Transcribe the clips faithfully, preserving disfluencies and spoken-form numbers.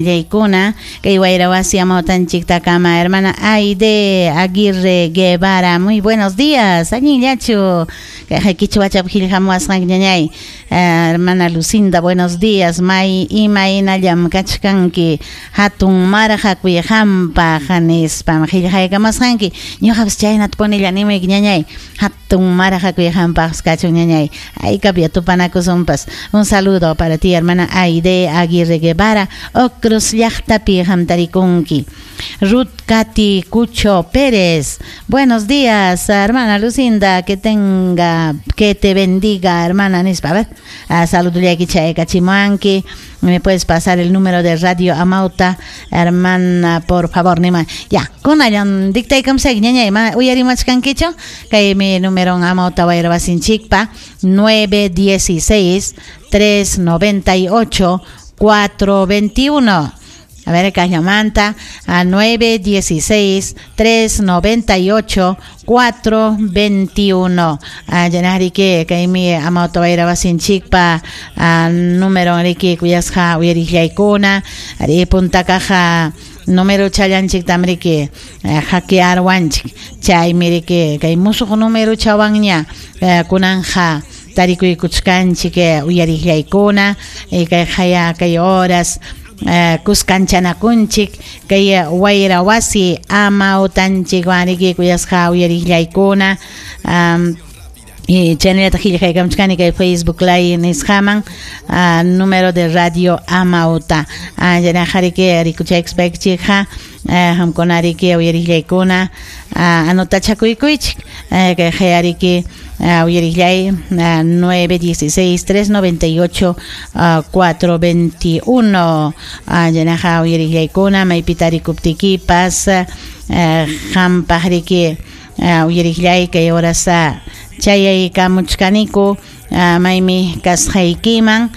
Yaykuna kay wayrawasi amawtanchiktakama hermana Aide Aguirre Guevara, muy buenos días, allinllachu kay kichwachap qillqamuwasqanki ñañay. Hermana Lucinda, buenos días, may imaynallam kachkanki, hatun marqakuy qampaq nispam qillqaykamusqanki, ñuqapas chaynata punilla nimuyki ñañay, hatun marqakuy qampaqpas kachun ñañay, haykapya tupanakusunpas. Un saludo para ti, hermana Aide Aguirre Guevara, Ocros llaqtapi hamtarikunki. Ruth Katy Cucho Pérez, buenos días, hermana Lucinda, que tenga, que te bendiga, hermana nispa. A ver, saludullayki chaykachimuanki. Me puedes pasar el número de Radio Amauta, hermana, por favor, nima. Ya, kunallan dictaykamusayki ñañay, ma uyarimachkankichu? Kay mi número Amauta wayrawasinchikpa nueve dieciséis tres noventa y ocho cuatro veintiuno. A ver, Cañamanta, a nueve dieciséis tres noventa y ocho cuatro veintiuno. A Yanarike, que mi amauta wayrawasinchikpa, a número riki kuyasqa uyarillaykuna, ari punta caja número challanchik tamriki hackearwanchik, chaymi riki kay musuq número chawanña kunanja tarikuykuchkanchik uyarillaykuna, kay haya kay horas kuskanchanakunchik kay wayrawasi amawtanchik wanriki kuyasqa uyarillaykuna. Y chaynallataq qillqaykamuchkani kay Facebook Live nisqaman número de Radio Amauta. Yanaqariki rikuchaykuspaykichikqa qamkunariki uyarillaykuna anotachakuykichik kay hayariki uyarillay nueve dieciséis tres noventa y ocho cuatro veintiuno. Yanaqa uyarillaykuna maypitarikuptikipas qampaqriki uyarillay kay horas chayaykamuchkaniku maymi kasqaykiman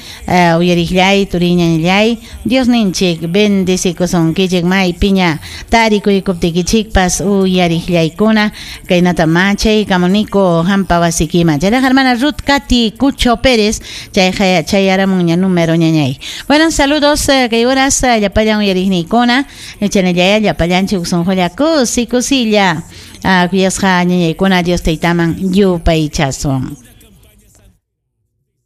uyarillay turiñanllay Diosninchik bendecikusunkichik maypiña tarikuykuptikichikpas uyarillaykuna kaynata machaykamuniku hampa wasikiman. Chayraqa hermana Ruth Katy Cucho Pérez chayqa chayaramunña número ñañay. Bueno, saludos kay horas llapallan uyariqniykuna chanallaya llapallanchik sunqulla kusi kusilla kuyasqa ñañaykuna Dios taytaman yupaychasun.